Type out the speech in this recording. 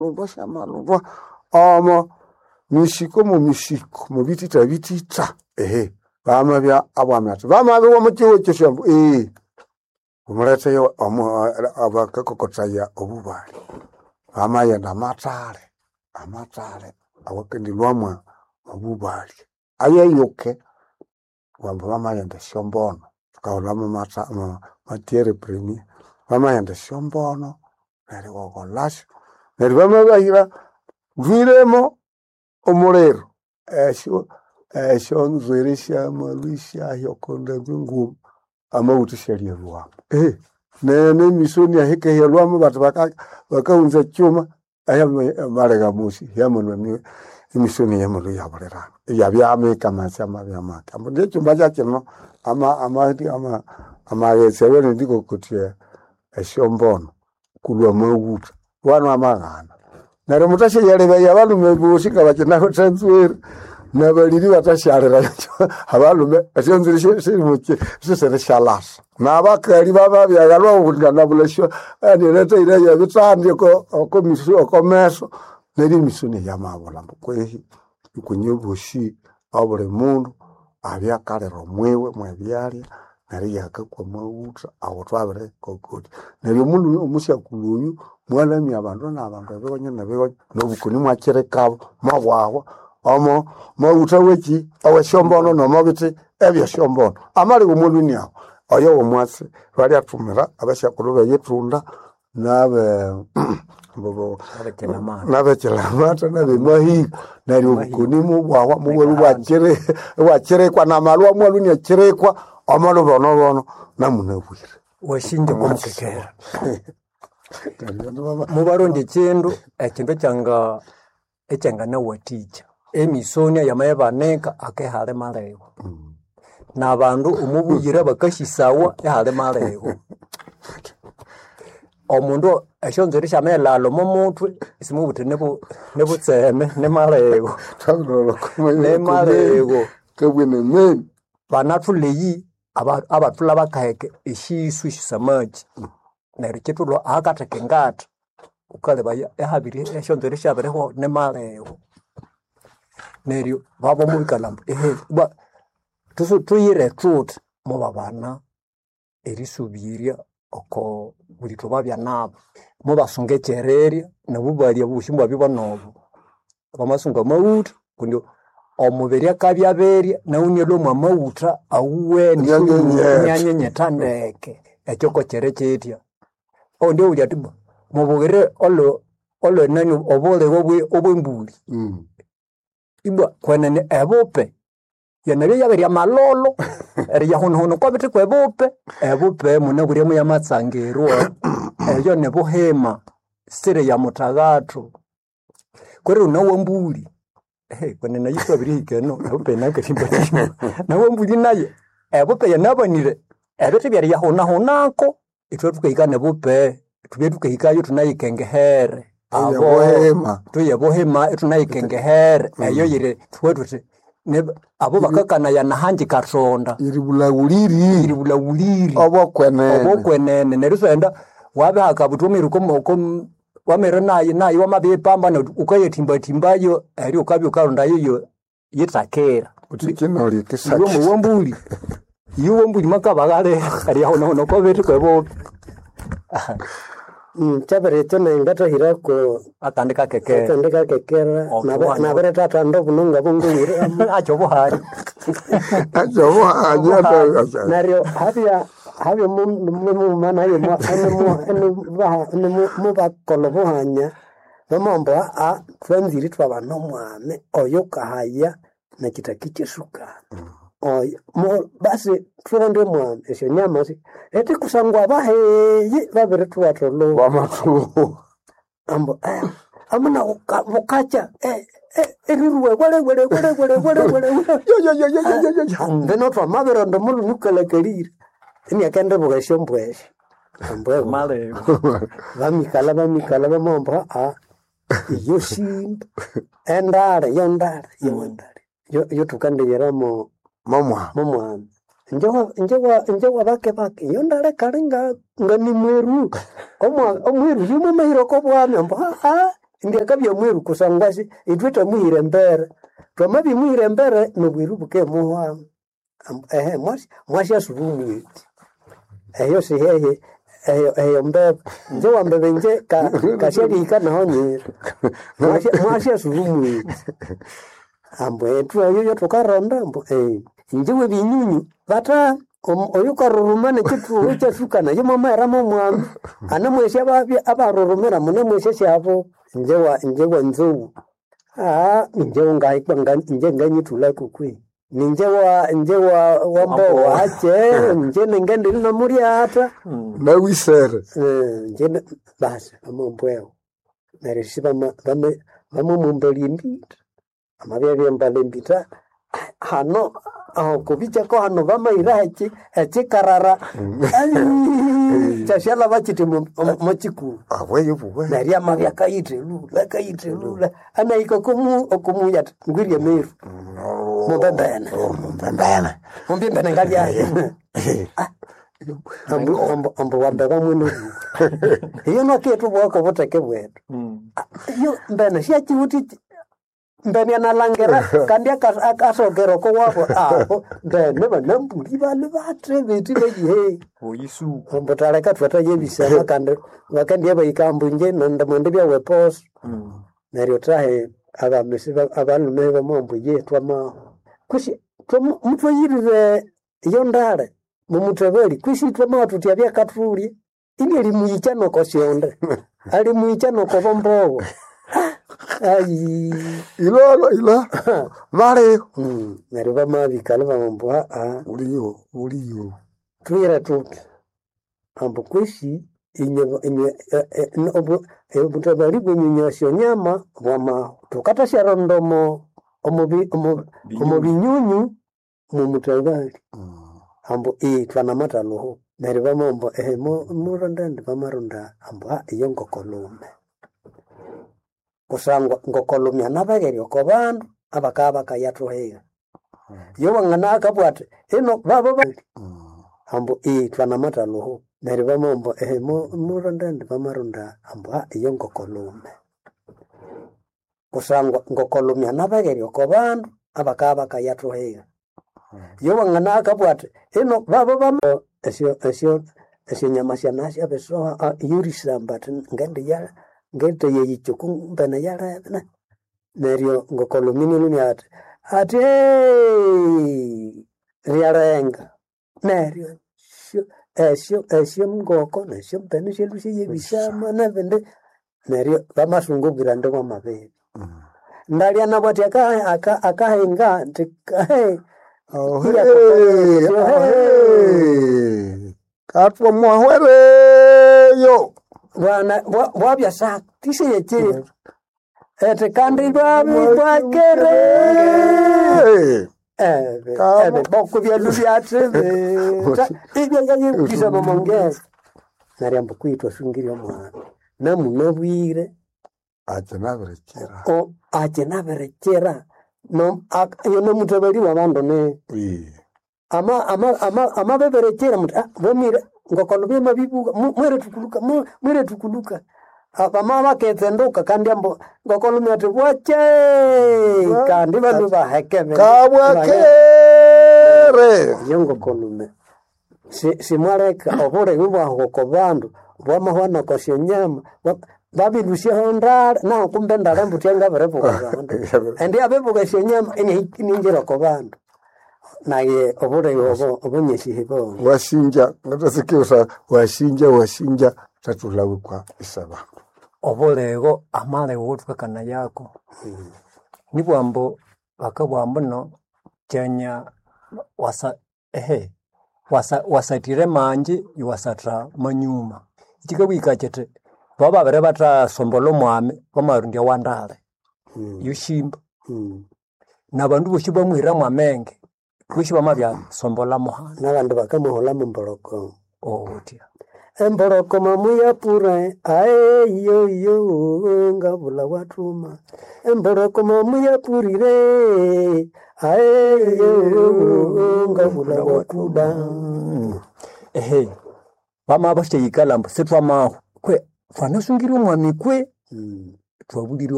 Syamalundwa syamalundwa omo misiko mu misiko mubitita bitita ehe bamabya abwami ati bamabiwa mukiwo kyosyambu ee omuleteyo abakakokotaya obubali bamayenda amatale amatale awakendilwamwa obubali ayeyuke wambu bamayenda esyombono tukahulhamu matiere premier bamayenda esyombono neryo iwakolhasyo neryo bamabahira lhwiremo omuliro esyo esyonzwiri syamalhwa isyahya okondambi nguma amawutha isyalyaluwamu nemisoni ahikehya-lhwamu bati bakahunza ekyuma malegha mosi hyamalhwa emisoni yamalhwa iyabulirana iyabya mike amaghetse amabya make. Ambu indi ekyumba kyakino amaghetse awanendikokotya esyombono kulhwa amawutha wanwa amaghana. Neryo muthasyayalebaya abalhume bosi ngabakinawithe enzwiri nabaliri bathasyalira abalhume esyonzwiri sisirishalasa. Nabakali bababya nganabulha esyo anilethaire yebithandi okomeso neryo emisoni yamabulha ambu kwehi ikwenye bosi obuli mundu abye akalira omwiwe mwebyalya neryo iyakakwa amawutha awo thwabirikokotya. Neryo omulhume omusyakulhu oyu mwalamya abandu nabandu ebigonyo nebigonyo nobukoni imwakirikabo mwabwahwa omo mawutha wekyi awesyombono nomobithi ebyesyombono. Amaligha omwalhwini aho oyo womwatsi balyathumira abasyakulhu beyithunda nabe nabekilamata nabemahiko neryo obukoni mubwahwa mubwalhwa ibwakirikwa namalwa amwalhwa iniakirikwa omolhubonobono namunabwire. Wasinja okwamukekera mubarondya ekindu ekindu ekyanga ekyanganawathikya emisonia yamayibanika akehali malego nabandu omubuyira bakasisawa ehali malego omundu esyonzwiri syamaghilhalha omo muthwe isimubuthi nibutseme nimalego nimalego Kabwene meni banathulha eyi abathulha bakaheka esyisu esyosamaki neryo kithulha ahakatheka engatha wukalebaya ihabiri esyonzwiri syabirihwahu nimalego neryo babamubikala ambu ehe ibwa thuyire thuthi mubabana erisubirya oko bulitho babya nabo mubasunga ekyererya nabu balya obusi ibwabya bwanobo bamasunga amawutha kundi omubiri akabya aberya nawu inalhwa mwamawutha awuwene inyanyenyetha ndeke ekyo kokyiri kyithya. Owundi abulya athi mubughire olwenani obuligho obwembulhi ibwa kwenene ebupe yanabya yabirya amalholo eriyahunahuna okwabithi kwebupe ebupe munabwire muyamatsangirwa eyo nibuhima siri ya mutaghathu kwerero nawambuli kwenene eyo thwabirihika eno ebupe yinakathimbathimba nawambuli nayo ebupe yanabanire ebithi byeriyahunahunako ithwe thukahika nebupe thubye thukahikayo ithunayikengehere abo tuye buhima ithunayikengehere eyo yiri thubughe thuthi abo bakakanaya nahangi kathonda Iribulhaghuliri iribulhaghuliri obokwenene obokwenene neryo isiwaghenda wabihaka buthi wamahika wamere nayi nayi wamabiyipamba neryo wukayathimbathimbayo eryo wukabya wukalondayo yo yithakira. Wuthi kinolya Iwe ekisakya muwambuli iwe wambuli mwakabaghalira eriyahunahuna okwabithi kwebupe Kyabirikyo nayi ngathahirako akandi kakekera akandi kakekera nabirithathanda obununga bungulire akyo obuhali akyobuhanya neryo habya habya mughuma naye mubakolha obuhanya bamamba aa thwanzire ithwabana omwami oyukahaya nekithaki kyesukali oyo basi thulonde omwami esyonyama eti kusangwa abaheyi babirithwatha olhuba wamathuwa ambu amuna bukakya eriruwe wele wele wele wele wele wele mbino twamabironda omulhume ukalhakalire iniakendibuka esyombwa esyo ambwa malego bamikalha bamikalha bamamba aa iyo simba endale yondale yowendale yothukandiyiramo momwa momwami njewa bake bake yondale kali nga nimweru omweru yumumahira okobwami ambu aa Indi akabya mwiru kusangwa si itwe twamuhira embere. Twamabimuhira embere nobwiru bukemuhwamu. Ehe mwasi mwasi omwiti. Eyo sihehe eyo eyo mbebe. Nje wambebe nje kasyalihika naho nyira. Mwasi asuba omwiti. Ambu ethu eyo thukaronda ambu inje webinyunyu bata oyukaruruma nekyithuhu kyasuka nayo mwamahera momwami anamwesi ababya abarurumira munemwesi syabo inje wa inje wa nzou inje ngahikwa inje nganyithulako kwe ninje wa inje wa wambowa ache inje ningendili nomulyatha Nawisere. Inje basi bamambwewo neryo isi bamamumbalya embitha amabya embala embitha hano aho kubikyako hano bamayira ekikarara kyasyalaba kiti mokyikulu Aweyo buwe. neryo amabya akayitha elula akayitha elula anahika okumuya athi ngwirye emiru mumbembene Mumbembene. mumbembene ngalyayo ambu wambe bamwe iyo nokethu bwako obutheke bwethu iyo mbene syakiwuthi mbene analangira kandi akasokera oko wabo aho mbene banambuli bali bathe bethi beyihe Oyisuku. ambu taleka thwatayebisana kandi bakandya bahika ambu inje nandi mwende byaweposo neryo thahe abamesi abalhume bamwambu ye twamaho kwisi muthwayirire iyo ndale mumuthebali kwisi twamaha thuthi abyakathulya ini alimuyikya noko syonde alimuyikya noko bombobo ayi Ilolo ila. Baliho. Neryo bamabikalha bamambu aa Uliyo, uliyo. thuyire thuthi ambu kwisi inywe inywe obutabali bwenyunya esyonyama bwamahu thukathasyarondoma omo binyunyu mumutabali ambu thwanamathalhuhu neryo bamamba ehe muronde indi bamaronda ambu iyo ngokolume kusangwa ngokolume anabegherya oko bandu abakabya bakayathuhiga iyo wangana akabugha athi ino babo ambu thwanamathalhuhu neryo bamamba ehe muronde indi bamaronda ambu iyo ngokolume kusangwa ngokolume anabegherya oko bandu abakabya bakayathuhiga iyo wangana akabugha athi ino babo esyo esyo esyonyama syanasyabisoha iyorisamba athi ngendiya ngendiyeyikya mbene yalebe neryo ngokolume inalumya athi athi ryalenga neryo esyo esyo esyo ngoko nesyo mbene syalhwa syayebisama nebindi neryo bamasunga obwira bwamabiri ndalya nabwo athi akahinga nthi Ohe. Ohe. Katwa mwahwereyo. bwana bwabya sakisiyekye ethi kandi lwabi bwakere ebe ebe boko byalu byathibita ibyayayikisa momongeza neryo ambu kwithu asungire omwana namunabwire Ache nabirekera. ache nabirekera iyo nomutabali wabandu ne amabeberekera muthi bamire ngokolo byamabibuka mwire tukuluka mwire tukuluka bama baketsenduka kandi ambu ngokolume athi bwakye kandi bandu bahekebe Kabwakere. iyo ngokolume simwaleka obulemi bwahu oko bandu bwamahwana oko syonyama babilusyaho ndale naho kumbe ndale mbuthi angabiribuka bandu indi abibuka esyonyama iningira oko bandu naye obulemi obo obunyesihi bongo Washinja ngatasikiusa washinja washinja tatulawe kwa isabantu. Obulego amalego gothukakana yako nibwambu bakabugha ambuno kyanya wasa ehe wasa wasathire manji iwasatha manyuma kyikabugha kyithi bababere bathasombolha omwami bamarondya wandale yoshimba nabandu bosi bamuhiramu amenge bosi bamabyasombolha muhana nabandu bakamuhulhamu mboloko othya emboloko mamuyapure aeyoyo ngabula wathuma emboloko mamuyapurire aeyo ngabula wakuba ehe bamabasyayikalha ambu sithwamahu kwe thwanasungire omwami kwe. Twabũlĩre.